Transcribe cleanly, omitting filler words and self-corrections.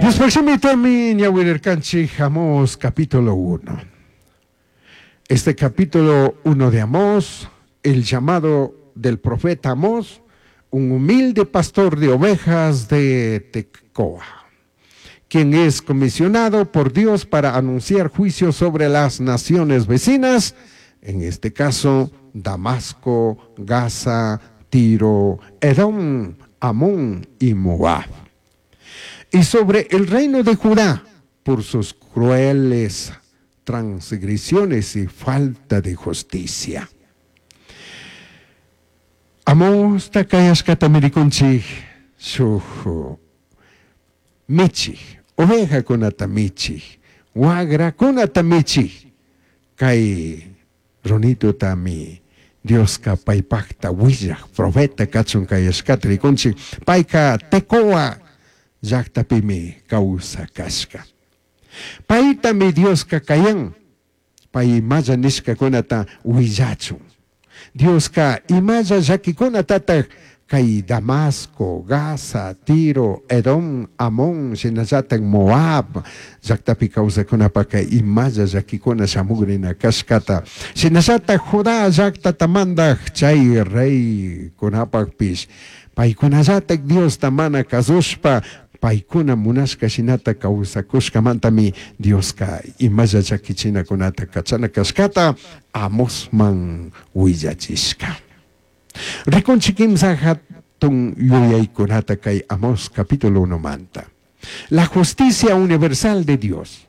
Diospaj shimitami ñawirirkanchik Amós capítulo 1. Este capítulo 1 de Amós, el llamado del profeta Amós, un humilde pastor de ovejas de Tecoa, quien es comisionado por Dios para anunciar juicio sobre las naciones vecinas, en este caso Damasco, Gaza, Tiro, Edom, Amón y Moab. Y sobre el reino de Judá por sus crueles transgresiones y falta de justicia. Amosta kayashkatami rikunchik shuk michik, ovejakunata michik, wagrakunata michik, kay runitutami Dioska paypakta willak profeta kachun kayashkata rikunchik, payka Tecoa llaktapimi kawsakashka. Paytami Dioska kayan, pay imalla nishkakunata willachun. Dioska imalla llakikunatataj kay Damasco, Gaza, Tiro, Edom, Amón, shinallatak Moab llaktapi kawsakunapaka imalla llakikuna shamugrina kashkata. Shinallatak Judá llaktata mandaj chay reykunapakpish paykunallatak Diosta mana kasushpa paykuna munashka shinata kawsakushkamantami Dioska imalla llakichinakunata kachana kashkata Amosman willachishka. Rikunchik kimsa hatun yuyaykunata kay Amós capítulo 1 manta. La justicia universal de Dios.